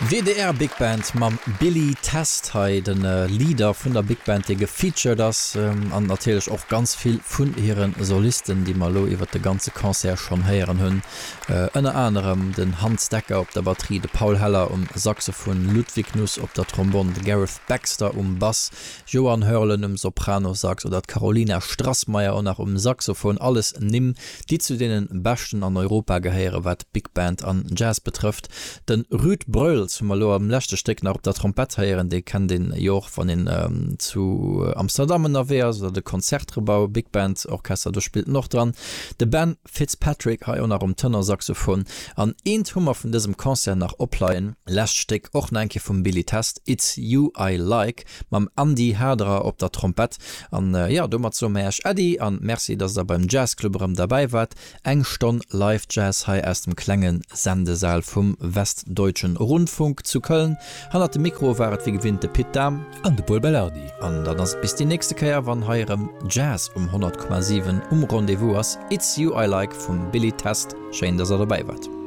WDR Big Band mam Billy Test hei, de Leader vun der Big Band, dee gefeatured ass, an natierlech och ganz vill vun hire Solisten, déi mer elo iwwert de ganze Concert schonn héieren hunn. Ënner anerem den Hans Dekker op der Batterie, de Paul Heller um Saxophon, Ludwig Nuss op der Trombonn, de Gareth Baxter um Bass, Johann Hörlen um Sopranosax oder d'Carolina Strassmeyer och nach um Saxophon, alles Nimm, déi zu deene beschten an Europa gehéieren, wat Big Band an Jazz betrëfft. De Ruud Breuls hu mer elo am leschte Stéck nach op der Trompett héieren, dee kennt een jo och, wann een zu Amsterdam ënnerwee ass, oder de Concertgebouw Big Band Orchester, do spillt en och dran. De Ben Fitzpatrick hei och nach um Tenorsaxophon. An eent hu mer vun dësem Concert nach opleien, lescht Stéck och nach eng Kéier vum Billy Test, It's You I Like, mam Andy Haderer op der Trompett. An jo, domat soe mer Iech Äddi an Merci, dass der beim Jazzclub erëm derbäi waart. Eng Stonn Live Jazz hei aus dem klenge Sendesaal vum Westdeutschen Rundfunk zu Köln. Hannert dem Mikro war et wéi gewinnt de Pit Dahm. An de Pol Belardi. An dann ass et bis déi nächste Kéier, wann hei erëm Jazz um 100,7 um Rendez-vous ass. It's You I Like vum Billy Test. Schéin, dass der dobäi waart.